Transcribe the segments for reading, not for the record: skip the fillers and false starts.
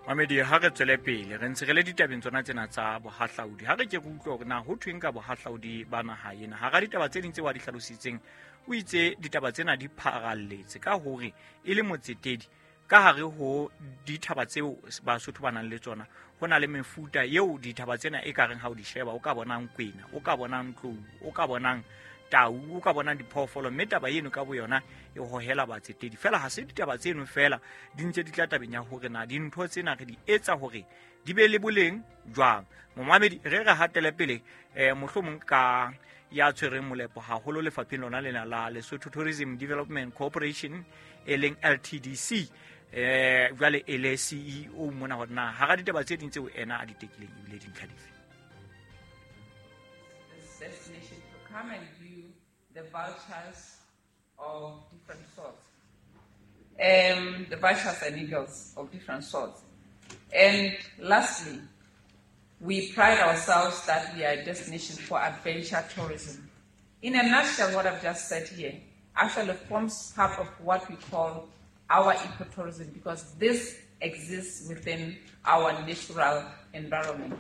Mamedi, ha re tswele pele re ntse re le ditabeng tsona tsena tsa bohahlaudi. Ha re ke re utlwe hore na ho thweng ka bohahlaudi ba naha ena. Hara ditaba tse ding tseo a di hlalositseng, o itse ditaba tsena di pharalletse ka hore e le motsetedi ka hare ho dithaba tseo Basotho ba nang le tsona. Ho na le mefuta eo dithaba tsena e ka reng ha o di sheba, o ka bonang kwena, o ka bonang tlou, o ka bonang tau, o ka bonang diphoofolo, mme taba eno ka boyona e hohela batsetedi. Fela ha se ditaba tseno fela, di ntse di tla tabeng ya hore na dintho tsena re di etsa hore di be le boleng jwang. Momamedi, re re hatele pele mohlomong ka ya tshwereng molepo haholo lefapheng lona lena la Lesotho Tourism Development Corporation, e leng LTDC, jwale e le CEO mona, hore na hara ditaba tse ding tseo ena a di tekileng ebile dintlha dife. Destination to come and view the vultures of different sorts. The vultures and eagles of different sorts. And lastly, we pride ourselves that we are a destination for adventure tourism. In a nutshell, what I've just said here actually forms part of what we call our ecotourism, because this exists within our natural environment.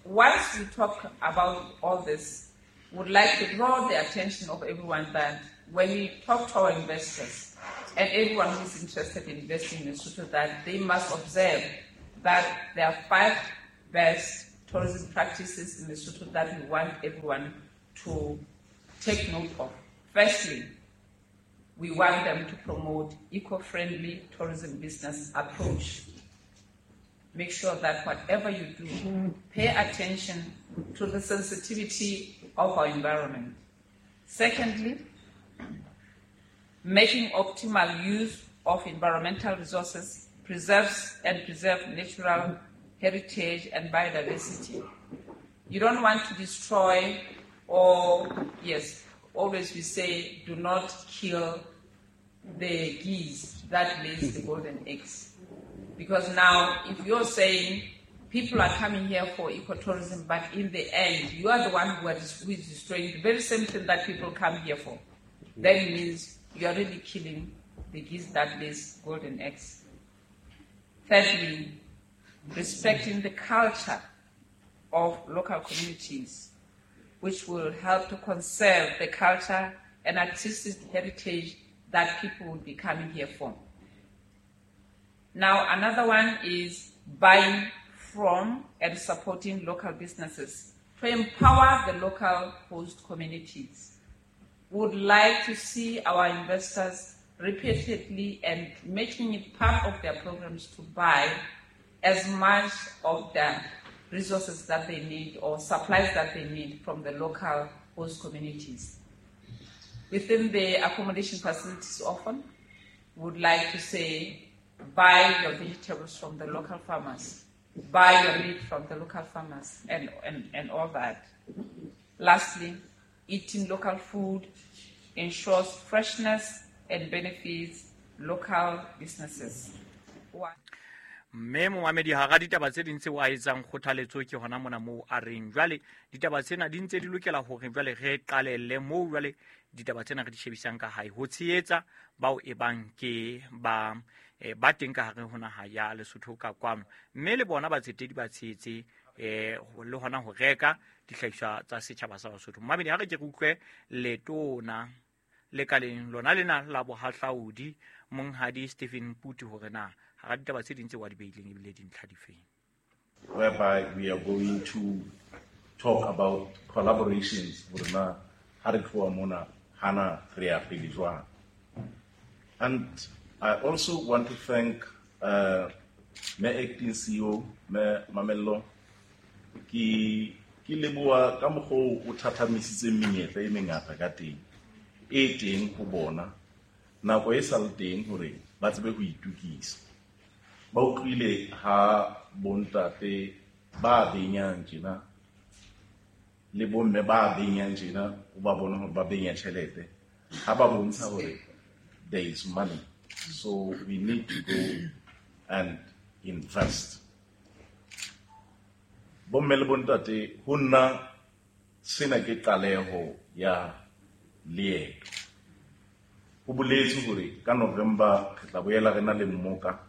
Whilst we talk about all this, would like to draw the attention of everyone that when we talk to our investors and everyone who is interested in investing in Lesotho, that they must observe that there are 5 best tourism practices in Lesotho that we want everyone to take note of. Firstly, we want them to promote eco-friendly tourism business approach. Make sure that whatever you do, pay attention to the sensitivity of our environment. Secondly, making optimal use of environmental resources preserves and preserve natural heritage and biodiversity. You don't want to destroy or, yes, always we say, do not kill the geese that lays the golden eggs. Because now, if you're saying people are coming here for ecotourism, but in the end, you are the one who is destroying the very same thing that people come here for, then it means you are really killing the geese that lays golden eggs. Thirdly, respecting the culture of local communities, which will help to conserve the culture and artistic heritage that people will be coming here for. Now, another one is buying from and supporting local businesses to empower the local host communities. We would like to see our investors repeatedly and making it part of their programs to buy as much of the resources that they need or supplies that they need from the local host communities. Within the accommodation facilities often, we would like to say, buy your vegetables from the local farmers, buy your meat from the local farmers, and all that. Lastly, eating local food ensures freshness and benefits local businesses. Mme momamedi, hara ditaba tse ding tseo a etsang kgothaletso ke hona mona moo a reng jwale ditaba tsena di ntse di lokela hore jwale re qalelle moo jwale ditaba tsena re di shebisang ka hae ho tshehetsa bao e bang ke ba ba teng ka hare ho naha ya Lesotho ka kwano, mme le bona batsetedi ba tshehetse le hona ho reka dihlahiswa tsa setjhaba sa Basotho. Momamedi, ha re ke re utlwe letona lekaleng lona lena la bohahlaudi Monghadi Stephen Puti hore na hara ditaba tse ding tseo a di beileng ebile dintlha di feng. Whereby we are going to talk about collaborations hore na ha re tloha mona hana re ya pele jwang. And I also want to thank me acting CEO me Mamello ke leboha ka mokgwa o thathamisitseng menyetla e mengata ka teng e teng ho bona nako e sa le teng hore ba tsebe ho itukisa. Ba utlwile ha bontate ba benyang tjena le bomme ba benyang tjena, o ba bona hore ba benya tjhelete ha ba bontsha hore there is money, so we need to go and invest. Bomme le bontate, ho nna sena ke qaleho ya leeto. Ho boletswe hore ka November re tla boela re na le mmoka,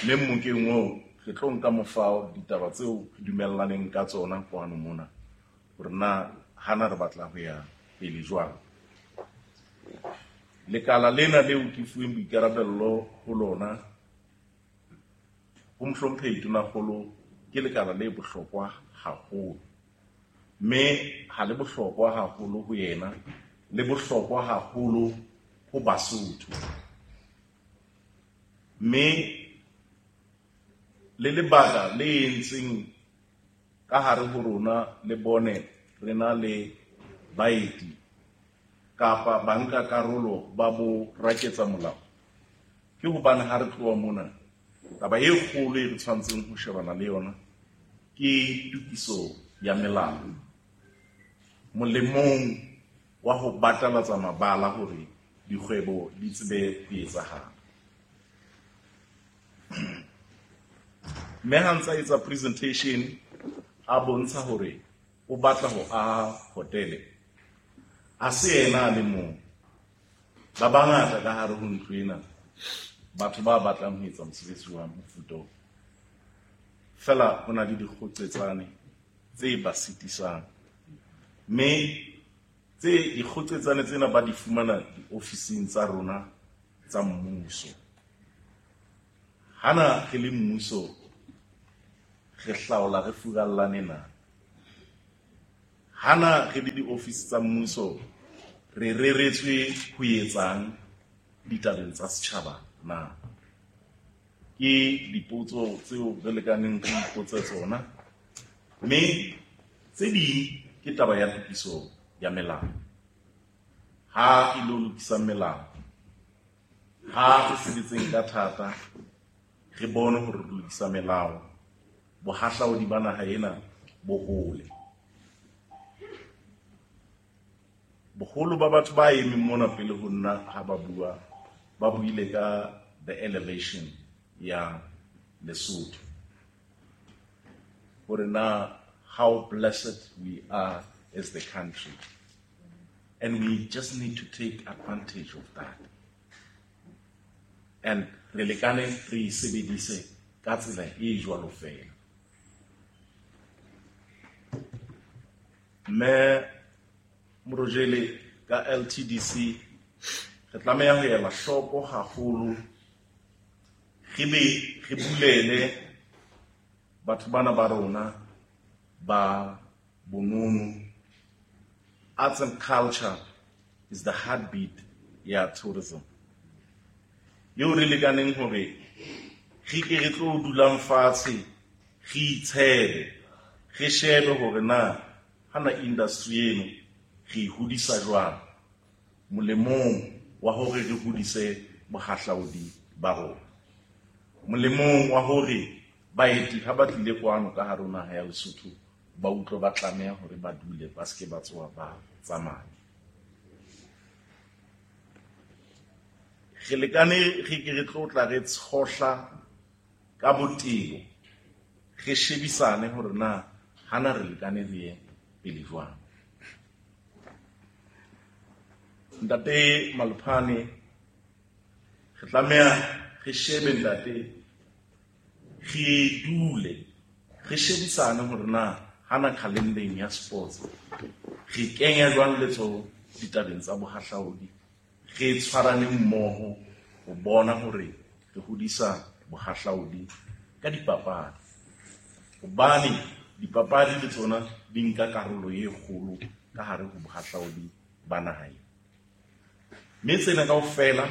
mme mmokeng oo re tlo nka mofao ditaba tseo re dumellaneng ka tsona kwano mona, hore na hana re batla ho ya pele jwang. Lekala lena leo ke fuweng boikarabello ho lona, ho mohlomphehi Tonakgolo, ke lekala le bohlokwa haholo, mme ha le bohlokwa haholo ho yena, le bohlokwa haholo ho Basotho. Mme le lebaka le entseng ka hare ho rona le bone re na le baeti kapa banka karolo ba bo raketsa molao, ke hobane ha re tloha mona taba e kgolo e re tshwantseng ho shebana le yona ke tokiso ya melao molemong wa ho batalatsa mabala hore dikgwebo di tsebe ho etsahala. Mme ha ntsa etsa presentation a bontsha hore o batla ho aha hotele, a se yena a le mong, ba bangata ka hare ho ntlo ena batho ba batlang ho etsa mosebetsi wa mofuta o. Fela ho na le dikgoqetsane tse ba sitisang, mme tse dikgoqetsane tsena ba di fumana diofising tsa rona tsa mmuso. Hana re le mmuso re hlaola re furallane na? Hana re le diofisi tsa mmuso re reretswe ho etsang ditabeng tsa setjhaba na? Ke dipotso tseo re lekaneng re ipotse tsona, mme tse ding ke taba ya tokiso ya melao. Ha e lo lokisa melao, ha re sebetseng ka thata re bone hore re lokisa melao, bohahlaudi ba naha ena bo hole. Boholo ba batho ba emeng mona pele ho nna ha ba bua, ba buile ka the elevation ya Lesotho, hore na how blessed we are as the country, and we just need to take advantage of that. And re lekane re sebedise ka tsela e jwalo fela. Mme Morojele, ka LTDC re tlameha ho ela hloko haholo, re be re bulele batho bana ba rona ba bonono. Arts and culture is the heartbeat ya tourism. Eo re lekaneng hore re ke re tlo dulang fatshe, re itshebe, re shebe hore na hana industry eno re e hodisa jwang molemong wa hore re hodise bohahlaudi ba rona, molemong wa hore baeti ha ba tlile kwano ka hare ho naha ya Lesotho ba utlwe ba tlameha hore ba dule, ba seke ba tsoha ba tsamaya. Re lekane re ke re tlo tla re tshohla ka botebo, re shebisane hore na hana re lekane re ye pele jwang. Ntate Malopane, re tlameha re shebe ntate, re dule re shebisane hore na hana calendar ya sports re kenya jwang letsoho ditabeng tsa bohahlaudi, re tshwarane mmoho ho bona hore re hodisa bohahlaudi ka dipapadi, hobane dipapadi le tsona di nka karolo e kgolo ka hare ho bohahlaudi ba naha ena. Mme tsena kaofela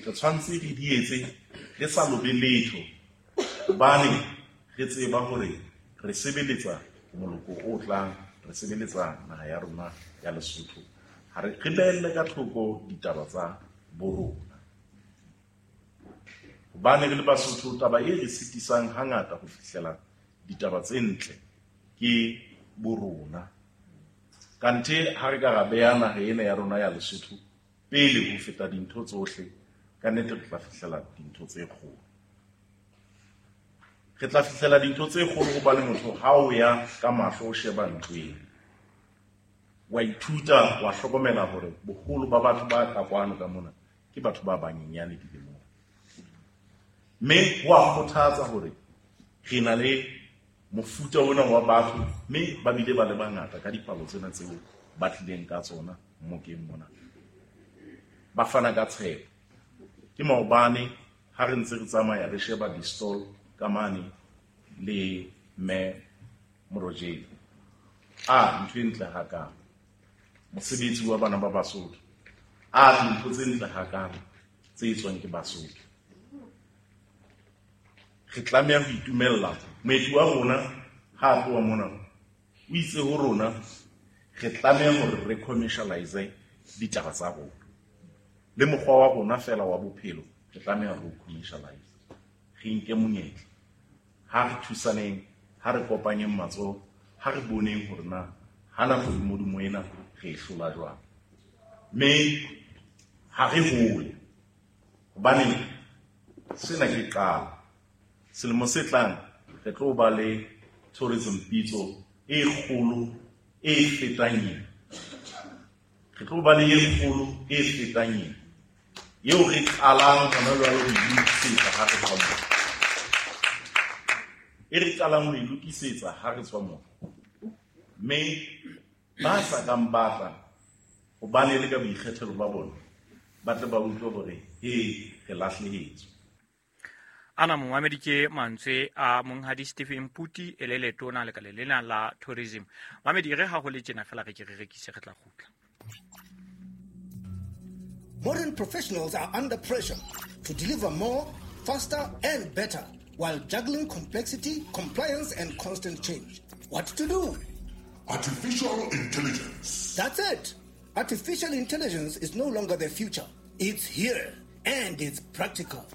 re tshwanetse re di etse re sa lobe letho, hobane re tseba hore re sebeletsa moloko o tlang, re sebeletsa naha ya rona ya Lesotho. Ha re behelle ka thoko ditaba tsa borona, hobane re le Basotho taba e re sitisang hangata ho fihlela ditaba tse ntle ke borona. Kanthe ha re ka ra beha naha ena ya rona ya Lesotho pele ho feta dintho tsohle, ka nnete re tla fihlela dintho tse kgolo. Re tla fihlela dintho tse kgolo hobane motho ha o ya ka mahlo o sheba ntlo ena, wa ithuta, wa hlokomela hore boholo ba batho ba ka kwano ka mona ke batho ba banyenyane dilemong. Mme ho a kgothatsa hore re na le mofuta ona wa batho, mme ba bile ba le bangata ka dipalo tsena tseo ba tlileng ka tsona mokeng mona. Ba fana ka tshepo. Ke maobane ha re ntse re tsamaya re sheba di-stall ka mane le mme Morojele. A ntho e ntle hakalo. Mosebetsi wa bana ba Basotho. A dintho tse ntle hakalo tse etswang ke Basotho. Re tlameha ho itumella. Moeti wa rona ha a tloha mona o itse ho rona re tlameha hore re commercialize ditaba tsa rona. Le mokgwa wa rona fela wa bophelo re tlameha ho commercialize. Re nke monyetla. Ha re thusaneng, ha re kopanyeng matsoho, ha re boneng hore na hana kgodumodumo ena re e hlola jwang. Mme ha re hole, hobane sena ke qalo. Selemo se tlang re tlo ba le tourism pitso e kgolo e fetang ena. Re tlo ba le e kgolo e fetang ena, eo re qalang hona jwale ho e lokisetsa ha re tswa mona. E re qalang ho e lokisetsa ha re tswa mona. Mme ba sa kang ba tla, hobane le ka boikgethelo ba bona, ba tle ba utlwe hore he re lahlehetswe. Ana momamedi ke mantswe a monghadi Stephen Mputi e le letona lekaleng lena la tourism. Mamedi re ha ho le tjena fela re ke re rekise re tla kgutla. Modern professionals are under pressure to deliver more, faster and better while juggling complexity, compliance and constant change. What to do? Artificial intelligence. That's it. Artificial intelligence is no longer the future. It's here and it's practical.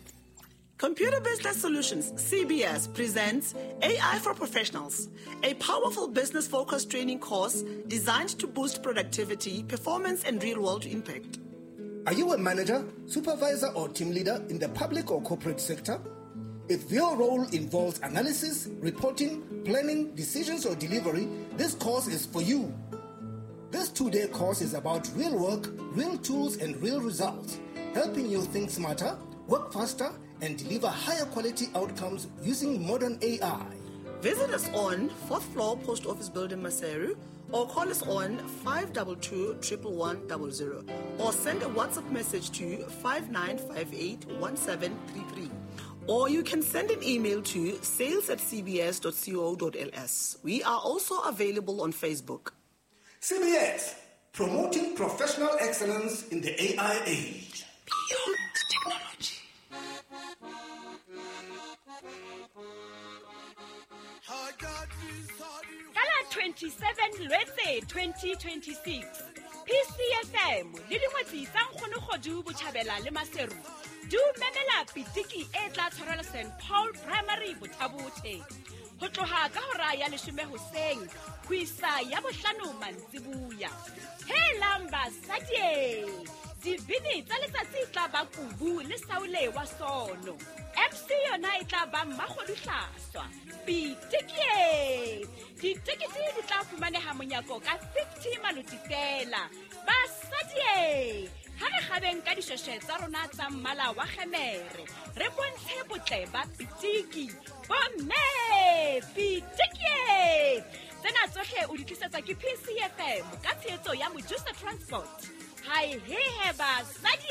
Computer Business Solutions, CBS, presents AI for Professionals, a powerful business-focused training course designed to boost productivity, performance, and real-world impact. Are you a manager, supervisor, or team leader in the public or corporate sector? If your role involves analysis, reporting, planning, decisions, or delivery, this course is for you. This 2-day course is about real work, real tools, and real results, helping you think smarter, work faster, and deliver higher quality outcomes using modern AI. Visit us on 4th floor Post Office Building, Maseru, or call us on 522 11100 or send a WhatsApp message to 5958 1733. Or you can send an email to sales@cbs.co.ls. We are also available on Facebook. CBS, promoting professional excellence in the AI age. Beyond technology. Ka la 27 Lwetse 2026, PCFM le dingwetsi tsa Nkgonogodu Botjhabela le Maseru di o memela pitiki e tla tshwarelwa St Paul Primary Bothabothe ho tloha ka hora ya 10 hoseng ho isa ya 5 mantsibuya. Helang basadi, dibini tsa letsatsi tla ba Kubu le Saule wa Sono. MC yona e tla ba Mmakgodu Hlaswa. Pitiki! Ditekete di tla fumaneha monyako ka 50 maloti fela. Basadi, ha re kgabeng ka dishweshwe tsa rona tsa mmala wa kgemere, re bontshe botle ba pitiki. Bomme, pitiki! Tsena tsohle o di tlisetsa ke PCFM ka tshehetso ya Mojusa Transport. Hai he he basadi!